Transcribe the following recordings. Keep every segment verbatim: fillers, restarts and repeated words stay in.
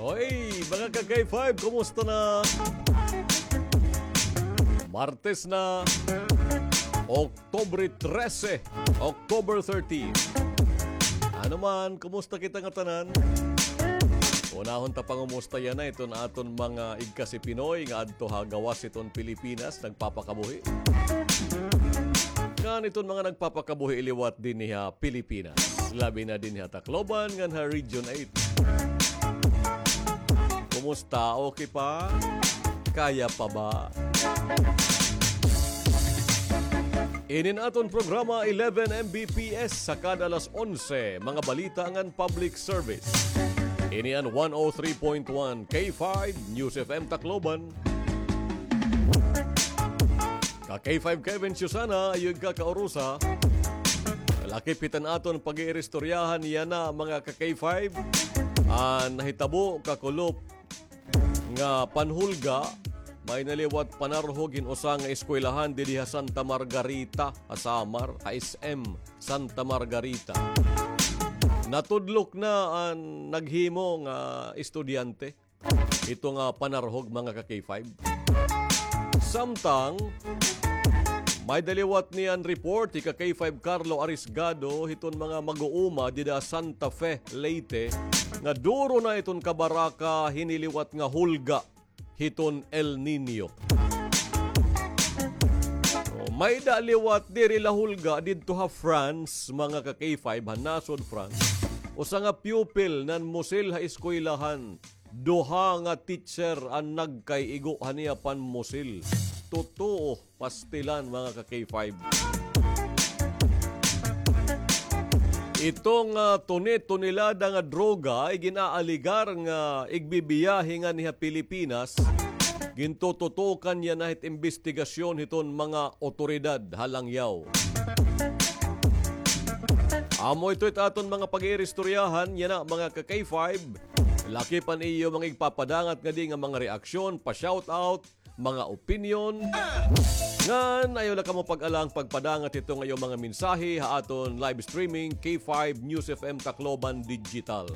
Hoy, mga ka-K five, kumusta na? Martes na, October trese, October thirty. Ano man, kumusta kita ngatanan? Unahon ta pangumusta yana iton aton mga igkasi Pinoy nga adto ha gawas hiton Pilipinas, nagpapakabuhi. Ngan iton mga nagpapakabuhi liwat dinhi ha Pilipinas, labi na dinhi ha Tacloban ngan ha Region eight. Kumusta? Okay pa? Kaya pa ba? Inin aton programa eleven M B P S sa kada alas onse, mga balita ngan public service. Ini an one oh three point one K five News F M Tacloban. Ka K five Kevin Susana, ayog ka kaurusa. Lakip hiton aton pag-iiristoryahan yana, mga ka K five. Ah, nahitabo, kakulop, nga panhulga, may naliwat panarhog hin usa nga eskwelahan didi ha Santa Margarita, ha Samar, ha S M Santa Margarita. Natudlok na an naghimo nga estudyante. Ito nga panarhog, mga ka K five. Samtang, may daliwat niyan report hi ka K five Carlo Arisgado hiton mga mag-uuma dida Santa Fe, Leyte, nga duro na iton kabaraka hini liwat nga hulga hiton El Niño. O, may da liwat diri la hulga didto ha France, mga ka K five, ha nasod France. Usa nga pupil nanmusil ha eskwelahan. Duha nga teacher an nagkaigo han iya panmusil. Totoo, pastilan, mga ka K five. Itong, ah, tuni-tonelada nga droga ay gin-aaligar nga igbibiyahe nganhi ha Pilipinas, gintututukan yana hit imbestigasyon hiton mga otoridad ha Langyaw. Amo ito it aton mga pag-iiristoryahan yana, mga ka K five. Lakip an iyo mga igpapadangat ngadi nga mga reaksyon, pa-shoutout, mga opinyon. Ngan ayaw la kamo pag-alang pagpadangat hiton iyo mga mensahe ha aton live streaming, K five News F M Tacloban Digital.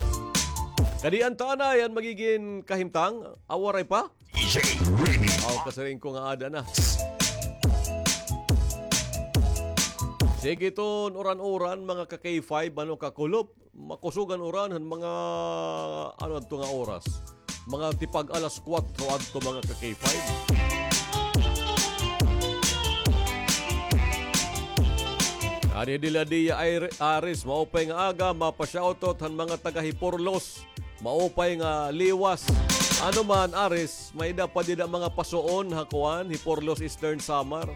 Kadi an taanay an magigin kahimtang, a waray pa? D J Remy. Aw, kasiring ko nga ada na. Sige, iton uran-uran, mga ka K five, ano, kakulop. Makusog an uran han mga, ano, adto nga oras. Mga tipag alas kuwatro adto, mga ka K five. Adi dila Dia Air-, Aris, maupay nga aga, mapa-shoutout han mga taga Hiporlos. Maupay nga liwas. Ano man, Aris, may da pa dida mga pasuon ha kuan, Hiporlos, Eastern Samar.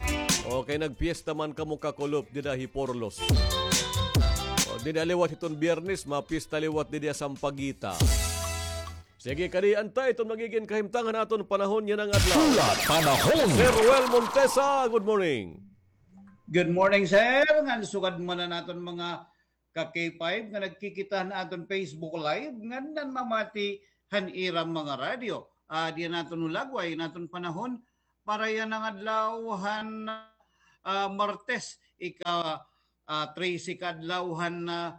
Okay, nagpiesta man kamo kakulop dida Hiporlos. O, dida liwat hiton Biyernes, mapiesta liwat dida Sampaguita. Sige, kadi an ta iton magigin kahimtang han aton panahon yana nga adlaw. Hulat panahon. Sir Well Montesa, good morning. Good morning, sir. Ngan sugad man an aton mga ka K five nga nagkikita han aton Facebook Live, ngan nanmamati han ira mga radyo. Ah, di naton hulagway an aton panahon para yana nga adlaw han, ah, Martes, ika, ah, trese ka adlaw han, ah,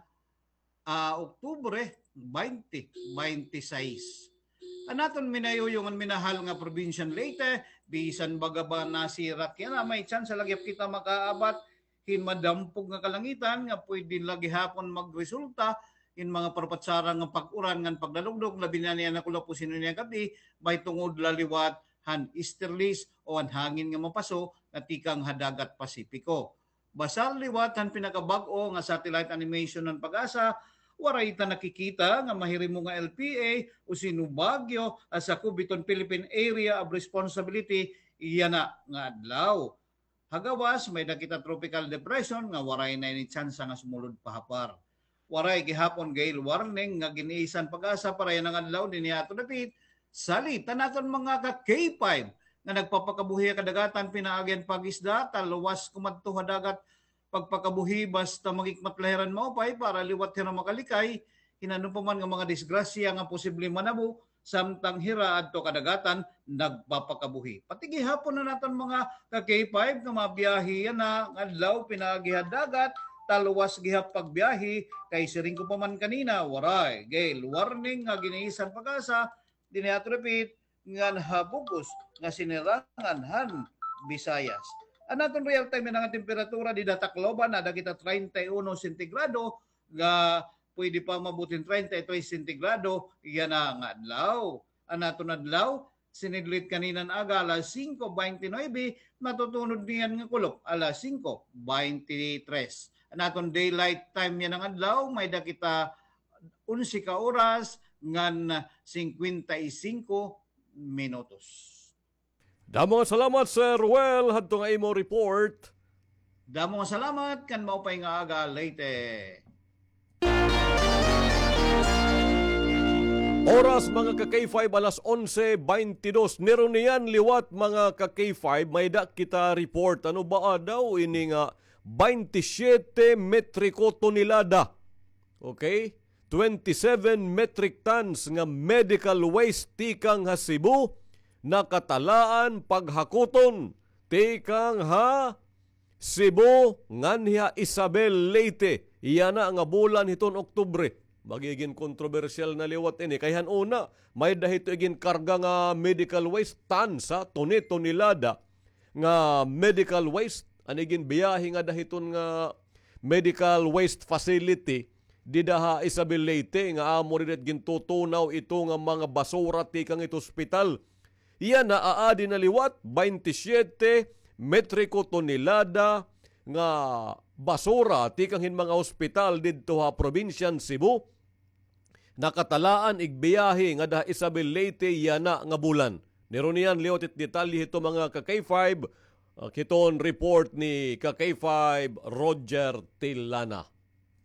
ah, Oktubre, baynte, baynte sais. An aton minayuyong ngan minahal nga probinsya han Leyte, bisan baga ba nasirak yana, may tsansa la gihap kita makaabat hin madampog nga kalangitan nga pwede la gihapon magresulta hin mga parpatsara nga pag-uran ngan pagdalugdog, labi na niyan ha kulop o sino niyan gab-i, mahitungod la liwat han easterlies o an hangin nga mapaso nga tikang ha dagat Pasipiko. Basar liwat han pinakabag-o nga satellite animation han PAGASA, waray ta nakikita nga mahirimo nga L P A o sino bagyo ha sakob hiton Philippine Area of Responsibility yana nga adlaw. Ha gawas, may-ada kita tropical depression nga waray na ini tsansa nga sumulod pa ha par. Waray gihapon gale warning nga gin-isan PAGASA para yana nga adlaw dinhi ha aton dapit. Salit an aton mga ka K five nga nagpapakabuhi ha kadagatan pinaagi han pag-isda, talwas kumadto ha dagat, pagpakabuhi basta mag-ikmat la hira hin maupay para liwat hira makalikay hin ano pa man nga mga disgrasya nga posible manabo samtang hira adto kadagatan nagpapakabuhi. Pati gihapon an aton mga ka K five nga mabiyahe yana nga adlaw pinaagi ha dagat, talwas gihap pagbiyahe, kay siring ko pa man kanina, waray gay warning nga giniisan PAGASA, dinhi ato repeat, ngan ha bug-os nga sinirangan han Visayas. An aton real time yana nga temperatura dida Tacloban, ada kita treinta y uno sentigrado, nga pwede pa umabot hin treinta y tres sentigrado yana nga adlaw. An aton adlaw, sinidlit kaninan aga alas singko beintinuebe, matutunod niyan nga kulop alas singko beintitres. An aton daylight time yana nga adlaw, may-ada kita onse ka oras ngan singkwenta y singko minutos. Damo nga salamat, Sir Ruel, hadto nga imo report. Damo nga salamat, kan maupay nga aga, Leyte. Oras, mga ka-K five, alas onse beintidos. Niruniyan liwat, mga ka-K five, may-ada kita report. Ano ba daw ini nga baynte siyete metriko tonelada? Okay? Twenty-seven metric tons nga medical waste tikang ha Cebu, nakatalaan paghakuton tikang ha Cebu nganhi ha Isabel, Leyte, yana nga bulan hiton Oktubre. Magigin kontrobersyal na liwat ini. Kay han una, may-ada hito iginkarga nga medical waste, tons, ha, tone-, tonelada nga medical waste. An iginbiyahe ngada hiton nga medical waste facility dida ha Isabel, Leyte, nga amo dida it gintutunaw ito nga mga basura tikang it hospital. Yana, aadi na liwat, baynte siyete metriko tonelada nga basura tikang hin mga hospital didto ha probinsya han Cebu, nakatalaan igbiyahe ngada ha Isabel, Leyte, yana nga bulan. Niruniyan liwat it detalye hito, mga ka-K five, ah, hiton report ni ka-K five Roger Tilana.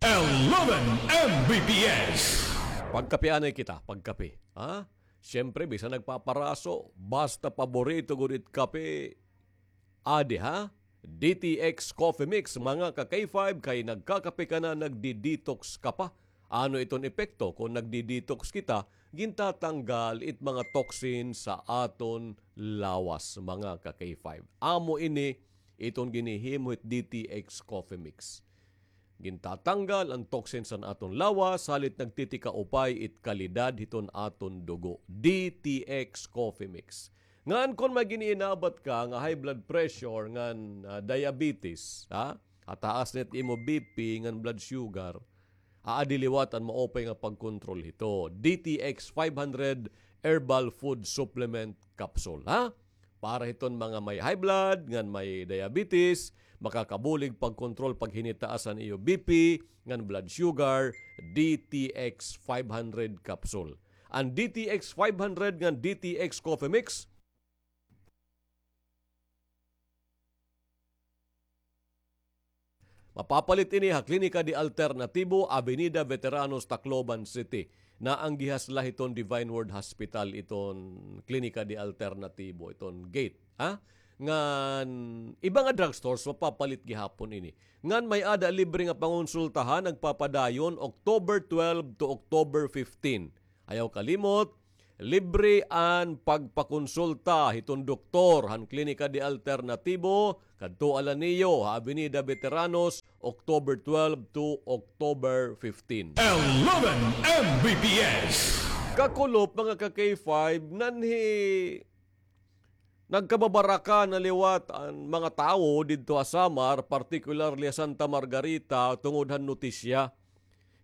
Eleven M B P S. Pagkape anay kita, pagkape. Ha? Siyempre, bisan nagpaparaso, basta paborito gud it kape, adi, ha? D T X Coffee Mix, mga ka-K five, kay nagkakape ka na, nagdi-detox ka pa. Ano iton epekto kon nagdi-detox kita? Gintatanggal it mga toxin sa aton lawas, mga ka-K five. Amo ini iton ginhihimo hit D T X Coffee Mix. Gintatanggal an toxins han aton lawas, halit nagtitikaupay it kalidad hiton aton dugo. D T X Coffee Mix. Ngan kon may gin-iinabat ka nga high blood pressure ngan, ah, diabetes, ha? Hataas na it imo B P ngan blood sugar, aadi liwat an maupay nga pagkontrol hito. D T X five hundred Herbal Food Supplement Capsule, ha? Para hiton mga may high blood, ngan may diabetes, makakabulig pagkontrol, paghinitaas han iyo B P, ngan blood sugar, D T X five hundred capsule. An D T X five hundred ngan D T X Coffee Mix, mapapalit ini ha Klinika de Alternativo, Avenida Veteranos, Tacloban City. Naanggihas la hiton Divine Word Hospital iton Klinika de Alternativo, iton gate, ha? Ngan iba nga drugstores, mapapalit gihapon ini. Ngan may-ada libre nga pangonsultahan, nagpapadayon October twelve to October fifteen. Ayaw kalimot, libre an pagpakonsulta hiton doktor han Klinika de Alternativo, kadtoa la niyo ha Avenida Veteranos, October twelve to October fifteen. Eleven M B P S. Kakulop, mga ka-K five, nanhi nagkababaraka na liwat an mga tawo didto ha Samar, particularly ha Santa Margarita, tungod han notisya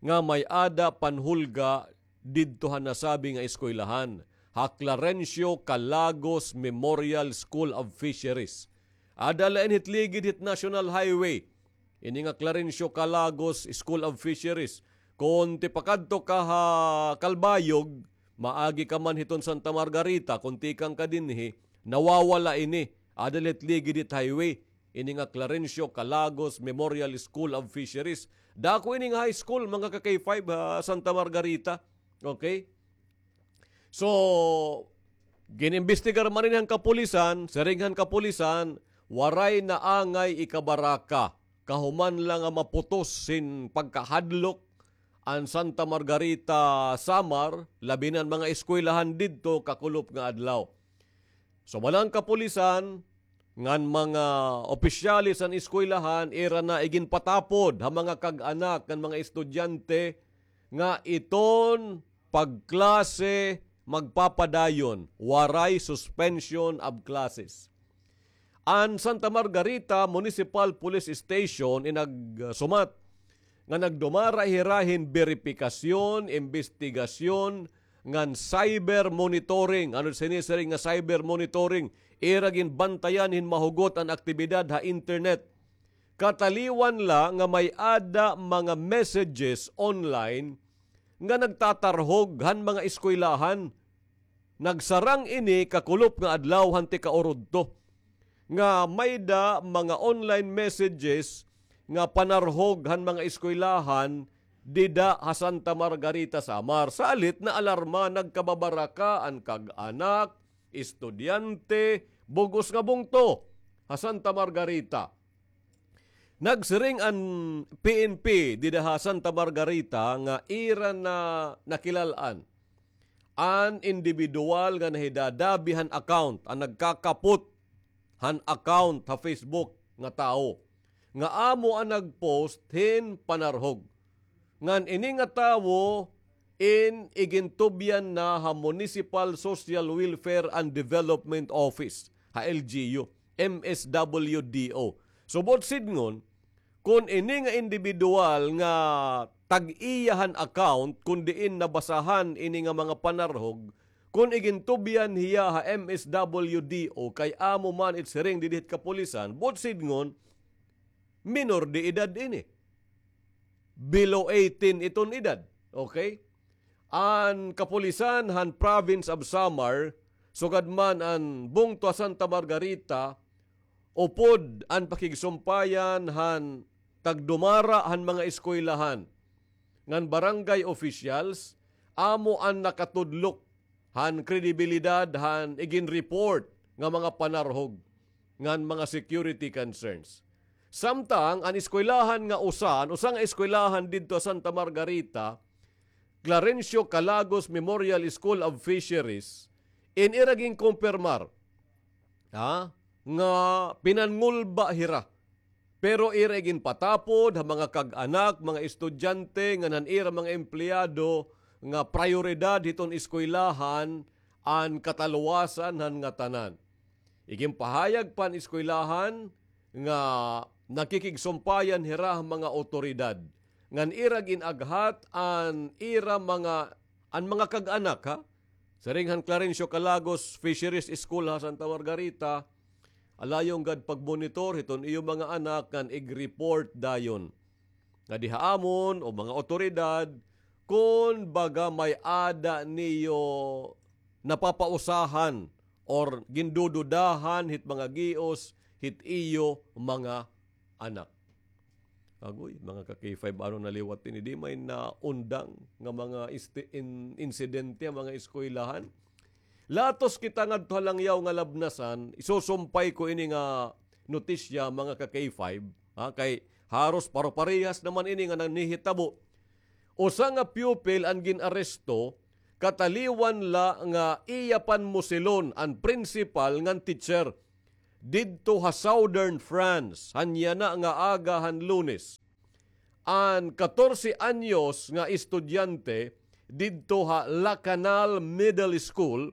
nga may-ada panhulga didto ha nasabi nga eskwelahan, ha Clarencio Calagos Memorial School of Fisheries. Ada la ini hit ligid hit National Highway. Ini nga Clarencio Calagos School of Fisheries. Kon tipakadto ka ha Calbayog, maagi ka man hiton Santa Margarita, kon tikang ka dinhi, nawawala ini. Ada la hit ligid hit highway. Ini nga Clarencio Calagos Memorial School of Fisheries. Dako ini nga high school, mga ka-K five, ha Santa Margarita. Okay? So, gin-imbestigar man ini han kapulisan, siring han kapulisan, waray naangay ikabaraka. Kahuman la nga maputos hin pagkahadlok an Santa Margarita, Samar, labi na an mga eskwelahan didto kakulop nga adlaw. So, balang kapulisan, ngan mga opisyales han eskwelahan, ira na iginpatapod ha mga kag-anak ngan mga estudyante nga iton pagklase magpapadayon, waray suspension of classes. An Santa Margarita Municipal Police Station in nagsumat nga nagdumara hira hin beripikasyon, imbestigasyon, ngan cyber monitoring. Ano sinisiring nga cyber monitoring? Ira ginbantayan hin mahugot an aktibidad ha internet. Kataliwan la nga may-ada mga messages online nga nagtatarhog han mga eskwelahan. Nagsarang ini kakulop nga adlaw han tika-urodto nga may-ada mga online messages nga panarhog han mga eskwelahan dida ha Santa Margarita, Samar. Salit naalarma, nagkababaraka an kag-anak, estudyante, bug-os nga bungto ha Santa Margarita. Nagsiring an P N P dida ha Santa Margarita nga ira na nakilal-an an indibidwal nga nahidadabi han account, an nagkakapot han account ha Facebook nga tawo, nga amo an nag-post hin panarhog. Ngan ini nga tawo in igintubyan na ha Municipal Social Welfare and Development Office, ha L G U, M S W D O. So, buot sidngon, kon ini nga indibidwal nga tag-iya han account, kon diin nabasahan ini nga mga panarhog, kon igintubyan hiya ha M S W D O, kay amo man it siring didi hit kapulisan, buot sidngon, minor de edad ini. Below eighteen iton edad. Okay? An kapulisan han Province of Samar, sugad man an bungto ha Santa Margarita, upod an pakigsumpayan han tagdumara han mga eskwelahan ngan barangay officials, amo an nakatudlok han kredibilidad han igin-report nga mga panarhog ngan mga security concerns. Samtang an eskwelahan nga usa, an usa nga eskwelahan didto ha Santa Margarita, Clarencio Calagos Memorial School of Fisheries, in ira ginkumpirmar, ha, nga pinanngulba hira. Pero ira iginpatapod ha mga kag-anak, mga estudyante, ngan han ira mga empleyado nga prayoridad hiton eskwelahan an kataluwasan han ngatanan. Iginpahayag pa han eskwelahan nga nakikigsumpayan hira ha mga awtoridad ngan ira gin-aghat an ira mga, an mga kag-anak, ha? Siring han Clarencio Calagos Fisheries School ha Santa Margarita, alayon gad pagmonitor hiton iyo mga anak ngan ig-report dayon ngadi ha amon o mga awtoridad kon baga may-ada niyo napapausahan or gindududahan hit mga gios hit iyo mga anak. Agoy, mga ka-K five, ano na liwat ini? Di may naundang nga mga isti-, in-, insidente ha mga eskwelahan? Latos kita ngadto ha langyaw nga labnasan, isusumpay ko ini nga notisya, mga ka-K five, ha, kay haros paro-parehas naman ini nga nanhihitabo. Usa nga pupil an gin-aresto, kataliwan la nga iya panmusilon an principal ngan teacher didto ha Southern France, han yana nga aga han Lunes. An katorse anyos nga estudyante didto ha La Canal Middle School,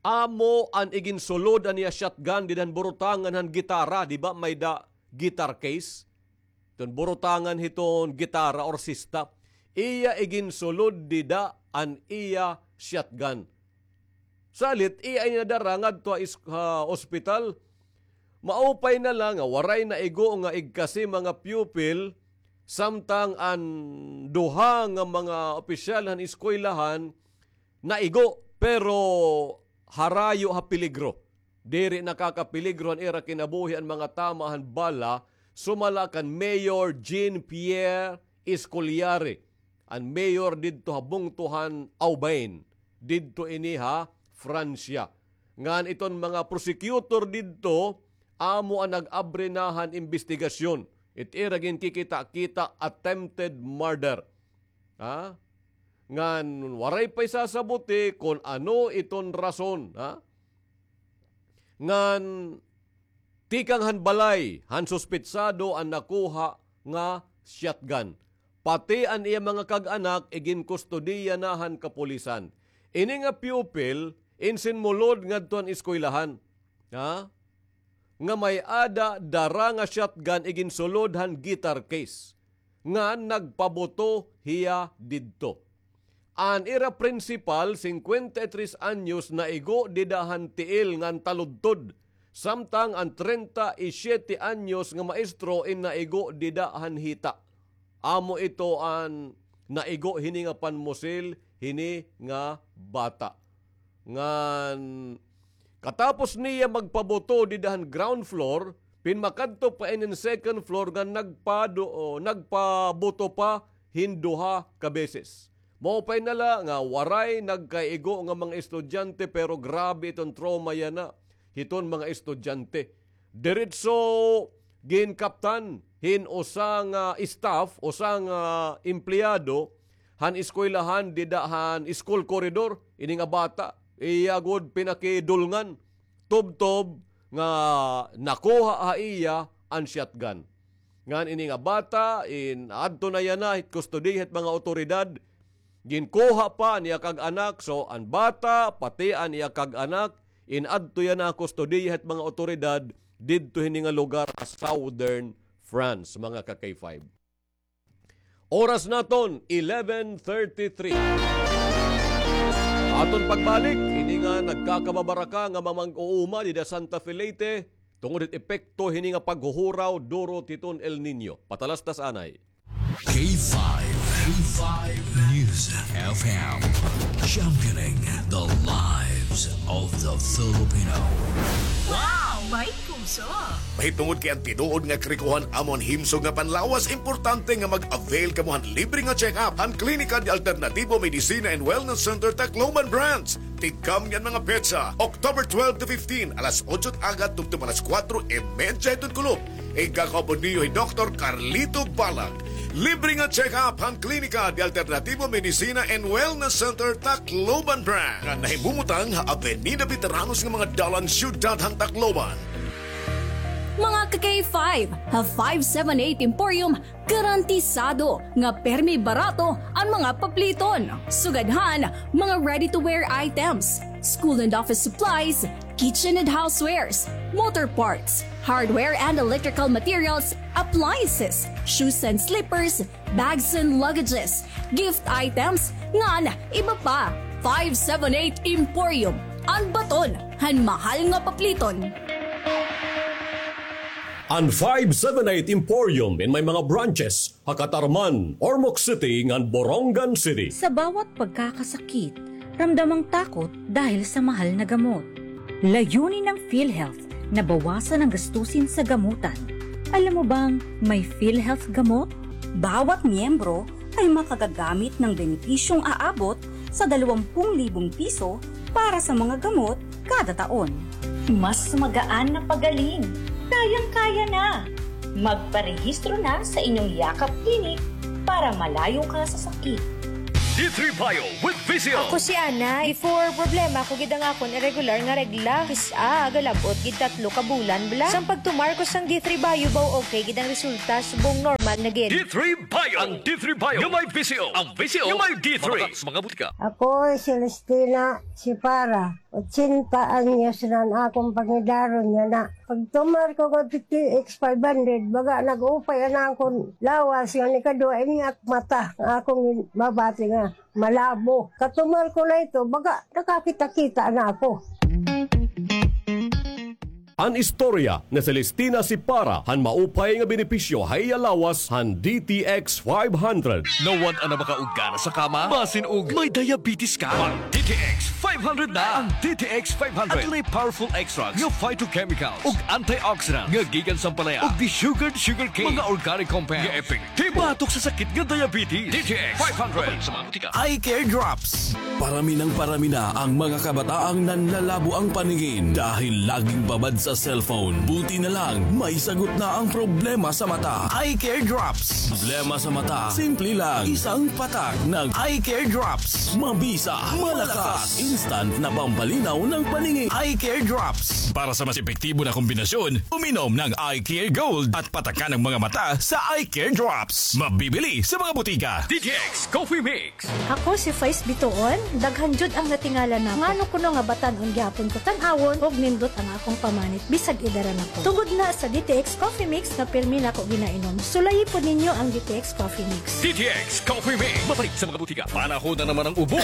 amo an iginsulod an iya shotgun dida han burutangan han gitara, di ba, may-ada guitar case? Iton burutangan hiton gitara or sista. Iya iginsulod dida an iya shotgun. Salit, iya ini nadara ngadto ha is-, ha ospital. Maupay na la nga waray naigo nga igkasi mga pupil, samtang an duha nga mga opisyal han eskwelahan naigo, pero harayo ha peligro. Diri nakakapeligro han ira kinabuhi an mga tama han bala, sumala kan Mayor Jean-Pierre Escoliari, an mayor didto ha bungto han Aubagne, didto ini ha Francia. Ngan iton mga prosecutor didto, amo an nag-abri na han imbestigasyon. It ira ginkikita-kita attempted murder. Ha? Ngan waray pa isasabuti kon ano iton rason, ha? Ngan tikang han balay han suspetsado an nakuha nga shotgun. Pati an iya mga kag-anak iginkustodiya na han kapulisan. Ini nga pupil, insinmulod ngadto han eskwelahan. Ha? Nga may-ada dara nga shotgun iginsulod han guitar case ngan nagpabuto hiya didto. An ira prinsipal, singkwenta y tres anyos, naigo dida han tiil ngan taludtod, samtang an treinta y siete anyos nga maestro in naigo dida han hita. Amo ito an naigo hini nga panmusil hini nga bata. Ngan katapos niya magpabuto dida han ground floor, pinmakadto pa inin second floor ngan nagpado-, o, nagpabuto pa hin duha ka beses. Maupay na la nga waray nagkaigo nga mga estudyante, pero grabe iton trauma yana hiton mga estudyante. Diretso ginkaptan hin usa nga staff, usa nga empleyado han eskwelahan dida han school corridor, ini nga bata, iya gud pinakidulngan, tubtob nga nakuha ha iya an shotgun. Ngan ini nga bata, in adto na yana hit kustodiya hit mga awtoridad, ginkuha pa an iya kag-anak, so an bata, pati an iya kag-anak, in adto yana kustodiya hit mga awtoridad didto hini nga lugar ha Southern France, mga ka-K five. Oras naton, eleven thirty-three. Aton pagbalik, ini nga nagkakababaraka nga mamag-uuma dida Santa Fe, Leyte, tungod hit epekto hini nga paghuhuraw duro titon El Niño. Patalastas anay. K five, K five News F M, championing the lives of the Filipino. Wow! May puso! Mahitungod kay an tinuod nga karikohan amo an himsog nga panlawas, importante nga mag-avail kamo han libre nga check-up han Klinika de Alternativo Medicina and Wellness Center Tacloban Branch. Tigkamni an mga petsa, October twelve to fifteen, alas otso hit aga tubtob alas kuwatro y medya hiton kulop. Igkakaupod niyo hi Doktor Carlito Balag. Libre nga check-up han Klinika de Alternativo Medicina and Wellness Center Tacloban Branch, nga nahimumutang ha Avenida Veteranos nga mga dalan, siyudad han Tacloban. Mga ka-K five, ha five seven eight Emporium, garantisado nga permi barato an mga papliton. Sugad han mga ready-to-wear items, school and office supplies, kitchen and housewares, motor parts, hardware and electrical materials, appliances, shoes and slippers, bags and luggages, gift items, ngan iba pa. Five seven eight Emporium, an baton han mahal nga papliton. An five seven eight Emporium in may mga branches ha Catarman, Ormoc City, ngan Borongan City. Sa bawat pagkakasakit, ramdam ang takot dahil sa mahal na gamot. Layunin ng PhilHealth na bawasan ang gastusin sa gamutan. Alam mo bang may PhilHealth gamot? Bawat miyembro ay makagagamit ng benepisyong aabot sa dalawampung libong piso para sa mga gamot kada taon. Mas magaan na pagaling. Kayang-kaya na. Magparehistro na sa inyong Yakap Clinic para malayo ka sa sakit. D three Bio with Visio. Ako si Ana. Before, problema ko gid ang akon irregular nga regla. Kis-a, galab-ot gid tatlo ka bulan bala. Sang pagtumar ko sang D three Bio, baw okay gid ang resulta, subong normal na gid. D three Bio. Ang D three Bio nga may Visio. Ang Visio nga may D three. Mabaka sa mga butika. Ako, Celestina Sipara. Ochenta anyos na an akon pangidaron yana. Pagtumar ko nga T T X five hundred, baga nag-upay an akon lawas nga nikaduha ini ak mata nga akon mabati nga malabo. Katumar ko na ito, baga nakakita-kita na ako. An istorya ni Celestina Sipara han maupay nga benepisyo ha iya lawas han D T X five hundred. Nawad-an na ba ka og gana sa kama? Basin og may diabetes ka? Mag D T X five hundred na! Ang D T X five hundred adunay powerful extracts nga phytochemicals ug antioxidants nga gikan sa ampalaya ug desugared sugarcane, mga organic compounds nga epektibo batok sa sakit nga diabetes. D T X five hundred. Sa mga butika. Eye Care Drops. Parami nang parami na ang mga kabataang nanlalabo ang paningin dahil laging babad sa sa cellphone. Buti na lang, may sagot na ang problema sa mata. Eye Care Drops. Problema sa mata, simple lang. Isang patak ng Eye Care Drops. Mabisa, malakas, instant na pampalinaw ng paningin. Eye Care Drops. Para sa mas epektibo na kombinasyon, uminom ng Eye Care Gold at patakan ang mga mata sa Eye Care Drops. Mabibili sa mga butika. D T X Coffee Mix. Ako si Faiz Bituon, daghan jud ang natingala nako. Ngano kuno nga batan-on gihapon ko tan-awon ug nindot ang akong pamanit bisag edara na ko. Tungod na sa D T X Coffee Mix nga pirmi nako ginainom. Sulayi pod ninyo ang D T X Coffee Mix. D T X Coffee Mix. Mapalit sa mga butika. Panahon na naman ng ubo,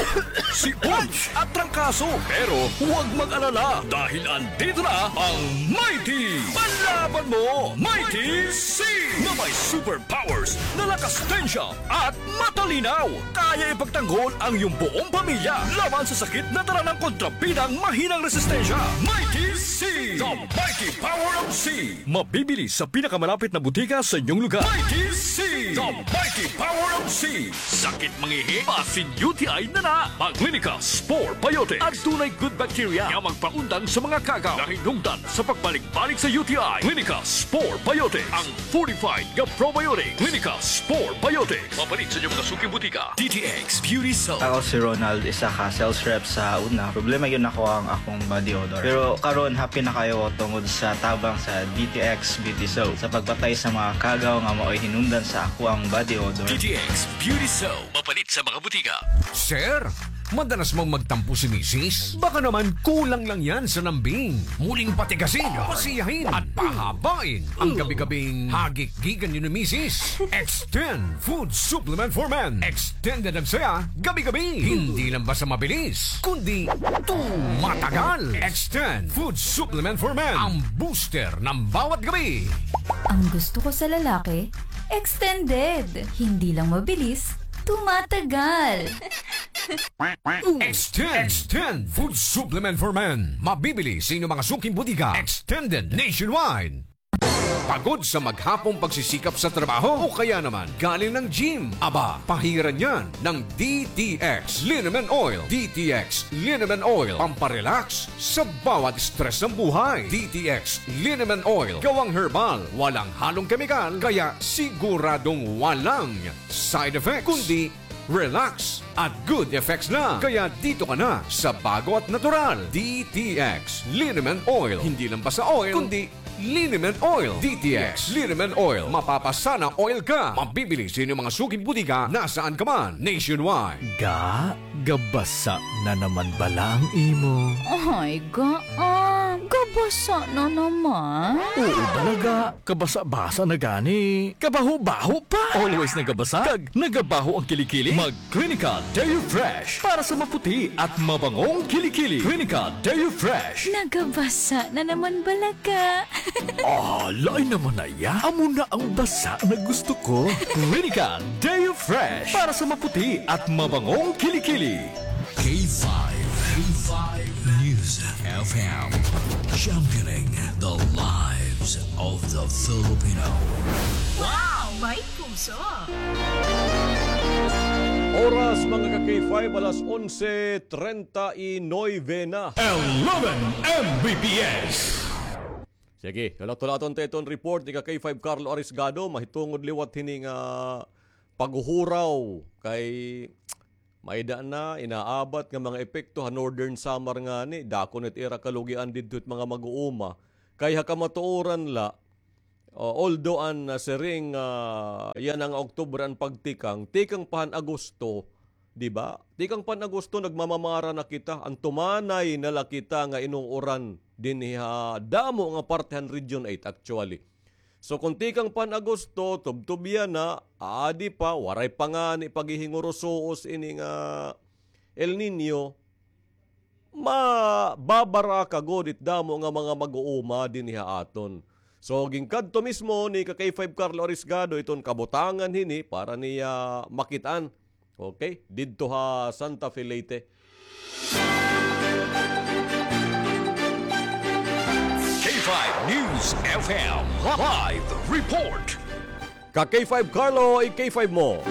sipon, at trangkaso. Pero huwag mag-alala dahil andito na ang Mighty Panlaban Mo, Mighty C, na may superpowers na lakas tensya at matalinaw. Kaya ipagtanggol ang iyong buong pamilya laban sa sakit na dala ng kontrabidang mahinang resistensya. Mighty C, the mighty power of C. Mabibili sa pinakamalapit na butika sa inyong lugar. Mighty C, the mighty power of C. Sakit mangihi, basin U T I na na. Mag Clinica Spore Biotics. Adunay good bacteria nga magpaundang sa mga kagaw nga hinungdan sa pagbalik-balik sa U T I. Clinica Spore Biotics, ang fortified nga probiotic. Clinica Spore Biotics. Mapalit sa inyong mga suking butika. D T X Beauty Soap. Ako si Ronald, isa ka sales rep sa una. Problema gyud nako ang akong body odor. Pero karon, happy na kaayo tungod sa tabang sa D T X Beauty Soap sa pagpatay sa mga kagaw nga maoy hinungdan sa ako ang body odor. D T X Beauty Soap. Mapalit sa mga butika. Sir, madalas bang magtampo si misis? Baka naman kulang lang yan sa lambing. Muling patigasin, pasiyahin, at pahabain ang gabi-gabing hagik-gikan niyo ni misis. Extend Food Supplement for Men. Extended ang saya gabi-gabi. Hindi lang basta mabilis, kundi tumatagal. Extend Food Supplement for Men, ang booster ng bawat gabi. Ang gusto ko sa lalaki, extended. Hindi lang mabilis, tumatagal. Extend, Extend Food Supplement for Men. Mabibili sa inyong mga suking butika. Extended nationwide. Pagod sa maghapong pagsisikap sa trabaho? O kaya naman galing ng gym? Aba, pahiran yan ng D T X Liniment Oil. D T X Liniment Oil, pamparelax sa bawat stress ng buhay. D T X Liniment Oil, gawang herbal, walang halong kemikal, kaya siguradong walang side effects, kundi relax at good effects lang. Kaya dito ka na sa bago at natural. D T X Liniment Oil. Hindi lang basta oil, kundi Liniment Oil. D T X Liniment Oil. Mapapasana oil ka. Mabibili sa inyong mga suking butika nasaan ka man nationwide. Ga, gabasa na naman bala ang imo. Ay, ga, ah, gabasa na naman. Oo bala, ga. Kabasa-basa na gani. Kabaho-baho pa. Always nagabasa. Kag nagabaho ang kilikili. Mag Clinica Deo Fresh para sa maputi at mabangong kilikili. Clinica Deo Fresh. Nagabasa na naman bala ka. Ah, lain naman na iya. Amo na ang basa na gusto ko. Clinica Deo Fresh para sa maputi at mabangong kilikili. K five, K five News F M, championing the lives of the Filipino. Wow! May puso! Oras, mga ka-K five, alas onse treinta y nueve na. Eleven M B P S. Sige, hulat-hulaton ta iton report ni ka-K five Carlo Arisgado, mahitungod liwat hini nga paghuhuraw kay may-ada na inaabat nga mga epekto ha Northern Samar ngani, dako na it ira kalugian didto it mga mag-uuma. Kay ha kamatuoran la, o, although an, ah, siring, ah, yana nga Oktubre an pagtikang, tikang pa han Agosto, di ba? Tikang pa han Agosto, nagmamamara na kita, an tumanay na la kita nga inuuran dinhi ha damo nga parte han Region eight actually. So, kon tikang pa han Agosto, tubtob yana, aadi pa, waray pa ngani paghihingurusuos ini nga El Niño, mababaraka gud it damo nga mga mag-uuma dinhi ha aton. So, ginkadto mismo ni ka-K five Carlo Arisgado iton kabutangan hini para niya makit-an. Okay? Didto ha Santa Fe, Leyte. K five News F M live report. Ka-K five Carlo, i-K five mo.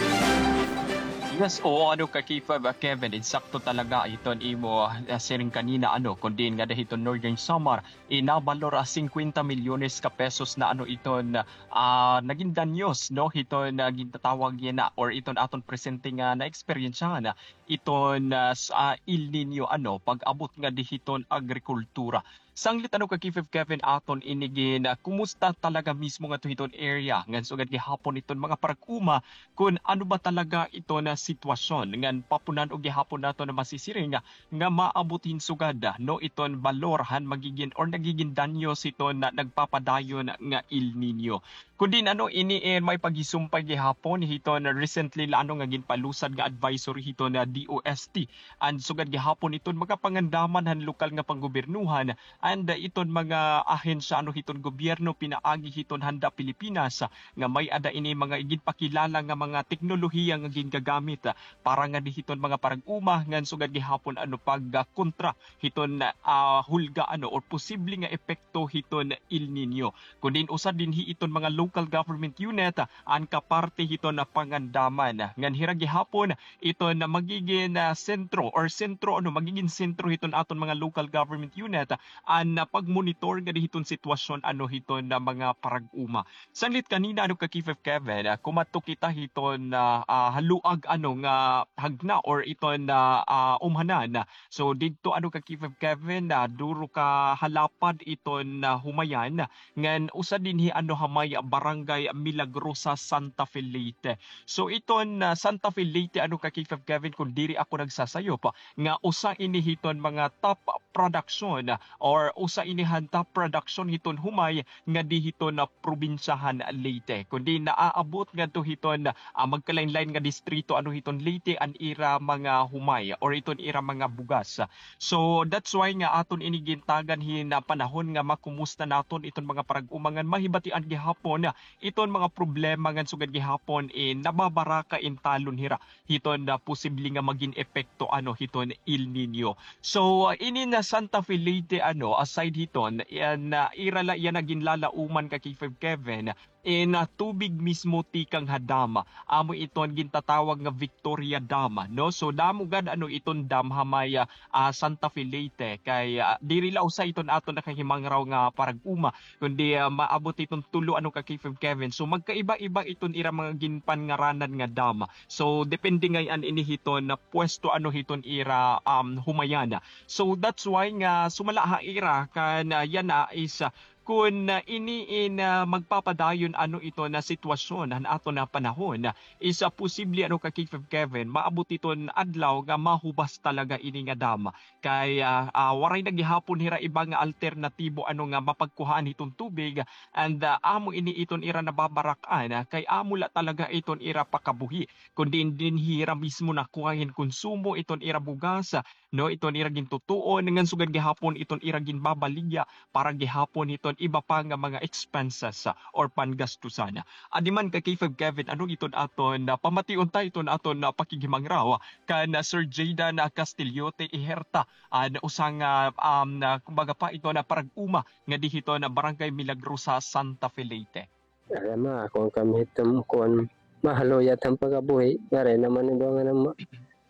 Yes, oo, ano ka, K five, ah, Kevin, insakto talaga iton imo, ah, siring kanina, ano, kun diin ngada hiton Northern Samar, inabalor, ah, singkwenta milyones ka pesos na, ano, iton, ah, nagin danyos, no, hiton, ah, gintatawag yana, or iton aton presente nga naeksperyensyahan, ah, iton, ah, sa El Niño, ano, pag-abot ngadi hiton agrikultura. Sanglit, ano ka, K five Kevin, aton ini gin, ah, kumusta talaga mismo ngadto hiton area ngan sugad gihapon iton mga parag-uma kun ano ba talaga iton sitwasyon ngan papunan-o gihapon naton nga masisiring nga maabot hin sugad, ah, no, iton balor han magigin or nagigin danyos hiton, ah, nagpapadayon nga El Niño. Kun diin, ano, ini, eh, may paghisumpay gihapon hiton recently la, ano, nga ginpalusad nga advisory hiton D O S T. And sugad gihapon iton mga pangandaman han lokal nga panggobyernohan and, uh, iton mga ahensya, ano, hiton gobyerno pinaagi hiton Handa Pilipinas, uh, nga may-ada ini mga iginpakilala nga mga teknolohiya nga gingagamit, uh, para ngadi hiton mga parag-uma ngan sugad gihapon, ano, pag, uh, kontra hiton, ah, hulga, ano, or posible nga epekto hiton El Niño. Kun diin usa dinhi iton mga local government unit, ah, an kaparte hiton, ah, pangandaman. Ngan hira gihapon iton, ah, magigin, ah, sentro or sentro, ano, magigin sentro hiton aton mga local government unit, ah, an, ah, pagmonitor ngadi hiton sitwasyon, ano, hiton, ah, mga parag-uma. Sanglit kanina, ano, ka K five Kevin, ah, kumadto kita hiton, ah, ah, haluag, ano, nga hagna or iton, ah, ah, umhanan. So, didto, ano, ka K five Kevin, ah, duro ka halapad iton, ah, humayan, ngan usa dinhi, ano, ha may Barangay Milagrosa, Santa Fe, Leyte. So, iton, ah, Santa Fe, Leyte, ano, ka K five Kevin, kun diri ako nagsasayop, nga usa ini hiton mga top production or usa ini han top production hiton humay ngadi hiton, ah, probinsya han Leyte. Kun diin naaabot ngadto hiton, ah, magkalain-lain nga distrito, ano, hiton Leyte an ira mga humay or iton ira mga bugas. So, that's why nga aton ini gintagan hin, ah, panahon nga makumusta naton iton mga parag-uma ngan mahibatian gihapon, ah, iton mga problema ngan sugad gihapon, eh, nababaraka in talon hira hiton, ah, posible nga magin epekto, ano, hiton El Niño. So, ah, ini na Santa Fe, Leyte, ano, aside hiton, iyan, ah, ira la iyan na ginlalauman ka K five Kevin, in, ah, tubig mismo tikang ha dam. Amo iton gintatawag nga Victoria Dam, no? So, damo gad, ano, iton dam ha may, ah, ah, Santa Fe, Leyte. Kay, ah, diri la usa iton aton nakahimangraw nga parag-uma, kundi, ah, maabot iton tulo, ano, ka K five Kevin. So, magkaiba-iba iton ira mga ginpanngaranan nga dam. So, depende ngay-an ini hiton na pwesto, ano, hiton ira, um, humayan. So, that's why nga sumala ha ira kan, ah, yana is, ah, kun, ah, ini in, ah, magpapadayon, ano, iton na sitwasyon han aton na panahon, is, ah, posible, ano, ka K five Kevin, maabot iton adlaw nga mahubas talaga ini nga dam. Kay, ah, ah, waray na gihapon hira iba nga alternatibo, ano, nga mapagkuhaan hiton tubig, and, ah, amo ini iton ira nababarak-an, ah, kay amo la talaga iton ira pakabuhi, kun diin dinhi hira mismo nakuha hin konsumo iton ira bugas, ah, no, iton ira gintutuon, ngan sugad gihapon iton ira ginbabaligya para gihapon hiton iba pa nga mga expenses, ah, or panggastusan. Adi man ka K five Kevin, ano iton aton, ah, pamation ta iton aton, ah, pakighimangraw kan, ah, Sir Jaydan, ah, Castillote Iherta, an usa nga, um, na, kumbaga pa, iton na parag-uma ngadi hiton na Barangay Milagrosa, Santa Fe, Leyte. Aram, ah, kuan kami hiton, kuan, mahaluya it am pagkabuhi. Waray naman iba nga nama,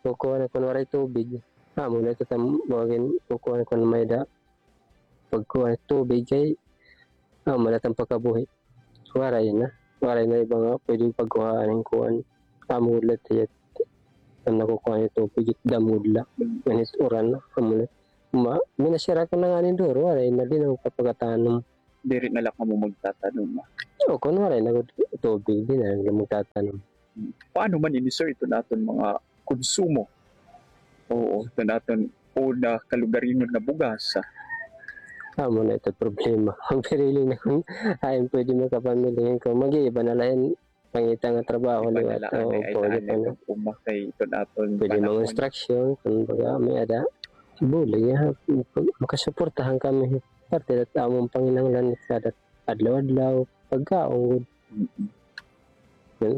kukuan kun waray tubig. Amo na ito tam, bawagin, kukuan kun may-ada pagkuan tubig kay, ah, amo na it am pagkabuhi. Waray na. Waray na iba nga pwede pagkuhaan hin kuan. Amo gud la it iya, an nakukuha niya tubig, it dam gud la. Ngan it uran, amo na. Ma, minasira ko na ngani duro, waray na, diri na ako kapagatanom. Diri na la kamo magtatanom, ah? Oo, kun waray na gud tubig, diri na la magtatanom. Paano man ini, sir, iton aton mga konsumo? Oo, iton aton una kalugaringon nga bugas, ah. Amo na ito problema. Magpirili na kun hain pwede makapamili kun mag-iiba na la hin pangita nga trabaho liwat. Oo, pwede pa na. Uma kay iton aton pwede mga instruction, kun baga may-ada. Bulig, ha, makasuportahan kami. Parte dat amon panginahanglan kada adlaw-adlaw, pagkaon gud. Mm-mm. Yun.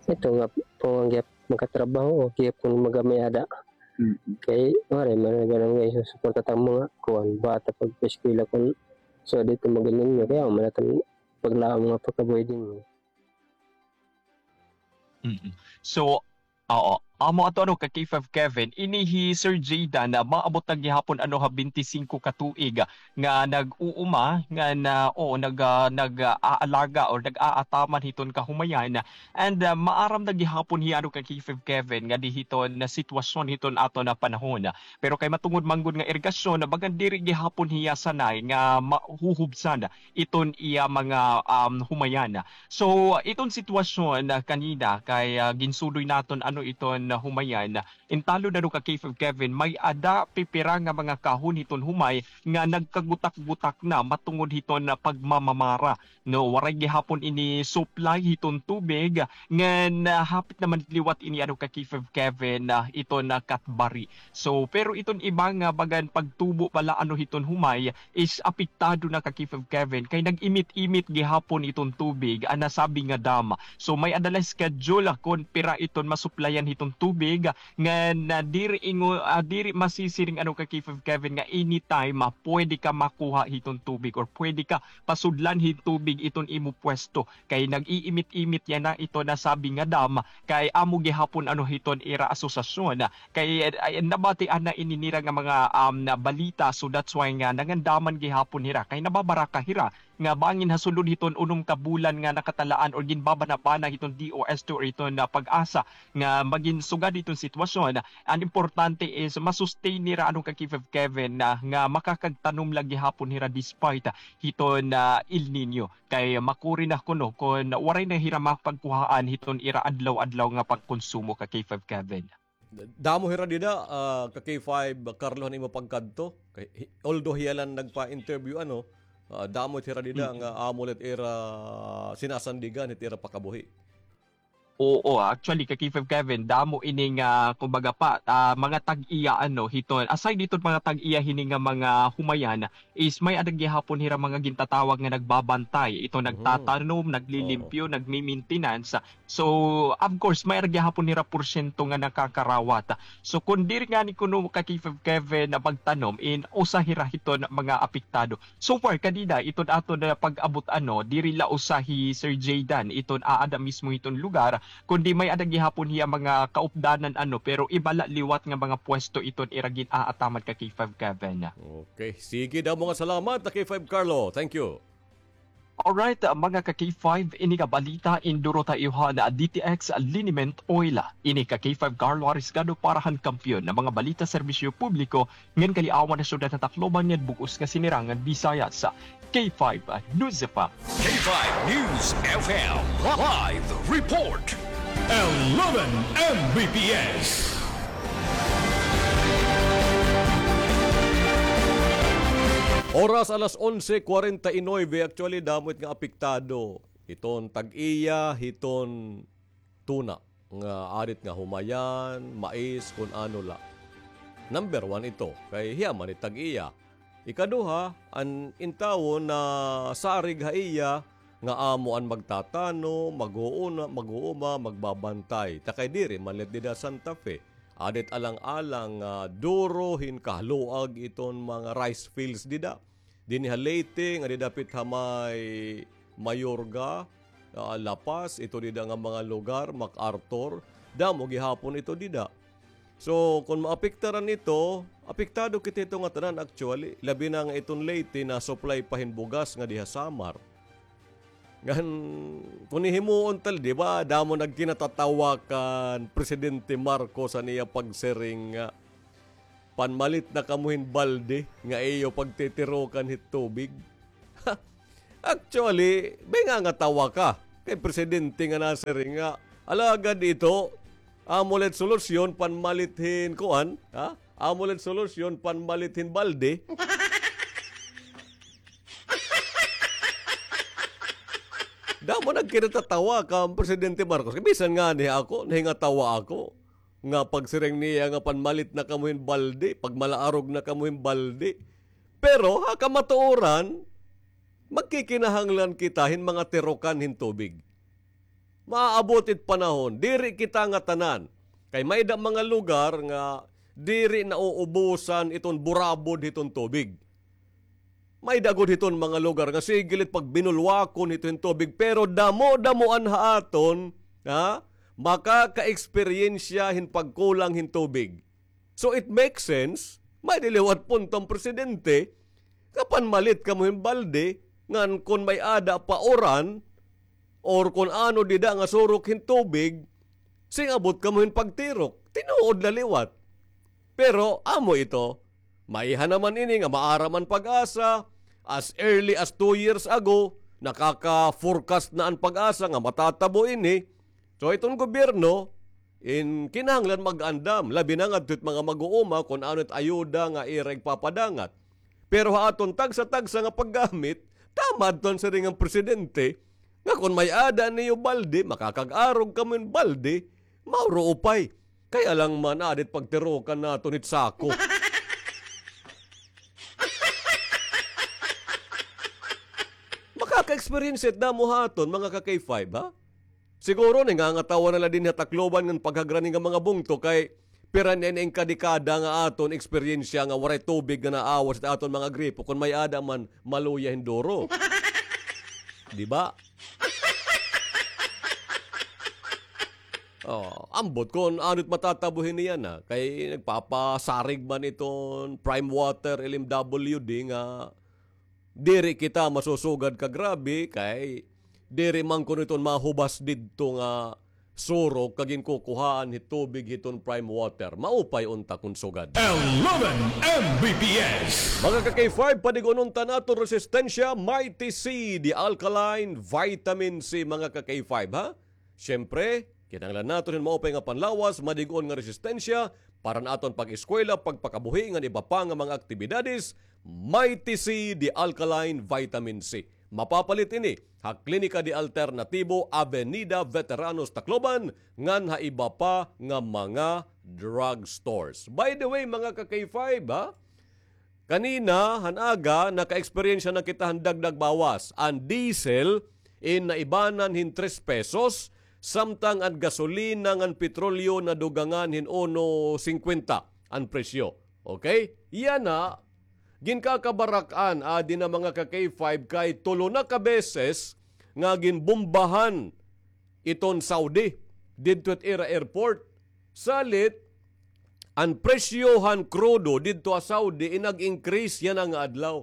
Ito nga, kung ang gihap makatrabaho, o gihap kung magamay ada. Mm-mm. Kay, waray man nga barangay, susuporta ta mga, kuan, bata pag eskwela kun, so, dito magaling nyo, kaya wala tang paglaom nga pagkabuhi din. Mm-mm. So, Oo. Amo ato, ano, ka K five Kevin, ini hi Sir Jaydan, ah, maabot na gihapon, ano, ha bente singko ka tuig, ah, nga nag-uuma, nga na, oo, nag, ah, nag, ah, aalaga or nag-aataman hiton kahumayan. And, ah, maaram na gihapon hiya, ano, ka K five Kevin, nga di hiton na sitwasyon hiton aton na panahon. Pero kay matungod man gud nga irigasyon, bagan diri gihapon hiya sanay nga mahuhubsan iton iya mga, um, humayan. So, iton sitwasyon, ah, kanina kay, ah, ginsudoy naton ano iton, ah, humayan. Intalo na do ka K five Kevin, may-ada pipira nga mga kahon hiton humay nga nagkagutak-gutak na matungod hiton, ah, pagmamamara. No, waray gihapon ini supply hiton tubig, ngan, ah, hapit naman liwat ini ano ka K five Kevin, ah, iton, ah, Katbari. So, pero iton iba nga bagan pagtubo bala ano hiton humay, is apektado na ka K five Kevin, kay nag-imit-imit gihapon iton tubig, an nasabi nga dam. So, may-ada la schedule kon pira iton masuplayan hiton tubig, nga na diri ingo, ah, diri masisiring ano ka K five Kevin nga anytime, ah, pwede ka makuha hiton tubig or pwede ka pasudlan hin tubig iton imo pwesto. Kay nag-iimit-imit yana iton nasabi nga dam, kay amo gihapon ano hiton ira asosasyon. Kay, ay, nabatian na ini nira nga mga, um, na balita. So that's why nga nangandaman gihapon hira. Kay nababaraka hira nga bangin ha sulod hiton unom ka bulan nga nakatalaan or ginbabanabana hiton D O S T or hiton na PAGASA nga magin sugad hiton sitwasyon. An importante is ma-sustain nira ano ka K five Kevin na nga makakagtanom la gihapon hira despite hiton na El Niño. Kay makuri na kuno kon waray na hira mapagkuhaan hiton ira adlaw-adlaw nga pagkonsumo ka K five Kevin. Damo hira dida, ah, ka K five Carlo, han imo pagkadto. Kay, hi-, although hiya la an nagpa-interview, ano, ah, damo hira dida nga amo la it ira sinasandigan, it ira pakabuhi. Oo, actually, ka K five Kevin, damo ini nga, kumbaga pa, ah, mga tag-iya, ano, hiton, aside hiton mga tag-iya hini nga mga humayan, is may-ada gihapon hira mga gintatawag nga nagbabantay. Ito, nagtatanom, naglilimpyo, nagmi-maintenance. So, of course, may-ada gihapon hira porsyento nga nakakarawat. So, kon diri ngani kuno ka K five Kevin na pagtanom, in usa hira hiton mga apektado. So far, kanina, iton aton na pag-abot, ano, diri la usa hi Sir Jaydan iton aada mismo hiton lugar, kundi may-ada gihapon hiya mga kaupdanan, ano, pero iba la liwat nga mga pwesto iton ira gin-aataman ka K five Kevin. Okay. Sige, damo nga salamat, ka K five Carlo. Thank you. Alright, mga ka K five, ini nga balita, induro ta iyo han D T X liniment oil. Ini ka K five Carlo Arisgado para han Kampiyon nga mga balita, serbisyo publiko, ngan kaliawan ha syudad han Tacloban ngan bug-os nga sinirangan Visayas. K five News F M. K five News F M live report. Eleven M B P S. Oras alas onse cuarenta y nueve, actually, damo it nga apektado. Iton tag-iya, hiton tuna nga aada it nga humayan, mais, kun ano la. Number one ito, kay hiya man it tag-iya. Ikaduha, an intawon nasarig ha iya nga amo an magtatanom, mag-uuna, mag-uuma, magbabantay. Ta kay diri man la it dida Santa Fe. Aada it alang-alang nga duro hin kaluag iton mga rice fields dida. Dinhi ha Leyte, nga dida dapit ha may Mayorga, ah, La Paz, ito dida nga mga lugar, MacArthur, damo gihapon ito dida. So, kon maapektaran ito, apektado kita hito ngatanan actually. Labi na nga iton Leyte na-supply pa hin bugas ngadi ha Samar. Ngan, kon hihimuon ta la, di ba, damo nagkinatatawa kan Presidente Marcos an iya pagsiring nga, "Panmalit na kamo hin balde nga iyo pagtitirokan hit tubig." Actually, may nga, ngatawa ka kay presidente nga nasiring nga, alagad ito, amo la it solusyon, panmalit hin kuan, ha? Amo la it solusyon, panmalit hin balde. Damo nagkinatatawa kan Presidente Marcos. Bisan ngani ako, nahingatawa ako nga pagsiring niya nga, "Panmalit na kamo hin balde, pagmalaarog na kamo hin balde." Pero ha kamatuoran, magkikinahanglan kita hin mga tirokan hin tubig. Maaabot it panahon, diri kita ngatanan. Kay may-ada mga lugar nga diri nauubusan iton burabod hiton tubig. May-ada gud hiton mga lugar nga sige la it pagbinulwakon hito hin tubig, pero damo-damoan ha aton, ha? makaka-eksperyensya hin pagkulang hin tubig. So it makes sense, may-ada liwat punto an presidente, nga panmalit kamo hin balde, ngan kon may-ada pa uran, or kon ano dida nga surok hin tubig, sing abot kamo hin pagtirok. Tinuod la liwat. Pero amo ito, maiha naman ini nga maaram an PAGASA, as early as two years ago, nakaka-forecast na an PAGASA nga matatabo ini. So iton gobyerno, in kinahanglan mag-andam, labi na ngadto it mga mag-uuma kon ano it ayuda nga ira igpapadangat. Pero ha aton tagsa-tagsa nga paggamit, tama adto an siring han presidente, nga kon may-ada niyo balde, makakag-arog kamo hin balde, mauro upay. Kay alangan man, aada it pagtirokan naton hit sako. Makaka-experience it damo ha aton, mga ka-K five, ha? Siguro, nangangatawa na la dinhi ha Tacloban ngan paghagra ini nga mga bungto kay pira na ini nga kadekada nga aton eksperyensya nga waray tubig nga naawas it aton mga gripo, kon may-ada man, maluya hin duro. Di ba? Oh, ambot kon ano it matatabo hini yana, kay nagpapasarig man iton Prime Water, L M W D, nga diri kita masusugad ka grabe, kay diri man kuno iton mahubas didto nga surok ka ginkukuhaan hit tubig hiton Prime Water. Maupay unta kon sugad. Eleven M B P S. Mga ka-K five, padig-on unta naton resistensya, Mighty C, the alkaline vitamin C, mga ka-K five, ha? Siyempre, kinahanglan naton hin maupay nga panlawas, madig-on nga resistensya, para han aton pag-eskwela, pagpakabuhi, ngan iba pa nga mga aktibidades, Mighty C, the alkaline vitamin C. Mapapalit ini ha Klinika de Alternatibo, Avenida Veteranos, Tacloban, ngan ha iba pa nga mga drugstores. By the way, mga ka-K five, ha? Kanina, han aga, naka-eksperyensya na kita han dagdag bawas. An diesel, in naibanan hin tres pesos, samtang an gasolina ngan petrolyo nadugangan hin uno singkwenta an presyo. Okay? Yana, ginkakabarak-an, adi na mga ka-K five, kay tulo na ka beses nga ginbombahan iton Saudi didto it ira airport. Salit, an presyo han krudo didto ha Saudi in nag-increase yana nga adlaw.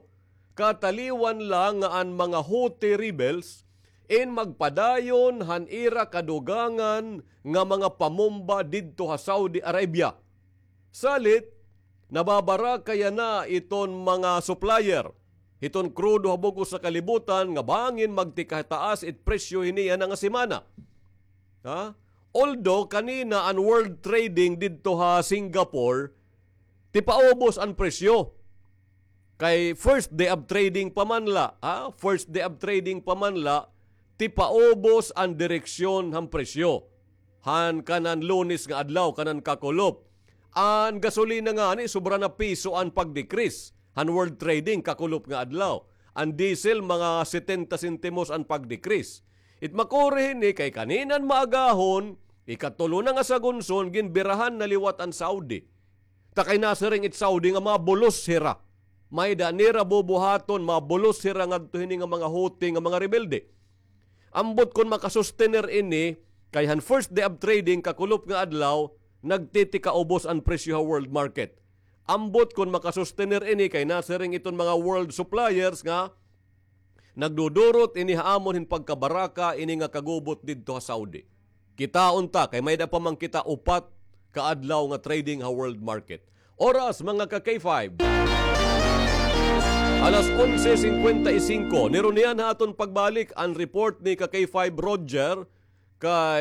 Kataliwan la nga an mga Houthi rebels in magpadayon han ira kadugangan nga mga pamomba didto ha Saudi Arabia. Salit, nababaraka yana iton mga supplier hiton krudo ha bug-os nga kalibutan nga bangin magtikataas it presyo hini yana nga semana. Ha? Although kanina an world trading didto ha Singapore, tipaubos an presyo. Kay first day of trading pa man la, ha? First day of trading pa man la, tipaubos an direksyon han presyo. Han kanan Lunes nga adlaw, kanan kakulop. An gasolina ngani, sobra na piso an pag-decrease. Han world trading, kakulop nga adlaw. An diesel, mga setenta sentimos an pag-decrease. It makuri hini kay kanina han maagahon, ikatulo na nga sagunson, ginbirahan na liwat an Saudi. Ta kay nasiring it Saudi nga mabulos hira. May-ada nira bubuhaton, mabulos hira ngadto hini nga mga Houthi nga mga rebelde. Ambot kon makasustener ini, kay han first day of trading, kakulop nga adlaw, nagtitikaubos an presyo ha world market. Ambot kon makasustener ini, kay nasiring iton mga world suppliers nga nagdudurot ini ha amon hin pagkabaraka ini nga kagubot didto ha Saudi. Kitaon ta, kay may-ada pa man kita upat ka adlaw nga trading ha world market. Oras, mga ka-K five. Alas onse singkwenta y singko. Nirunian ha aton pagbalik an report ni ka-K five Roger kay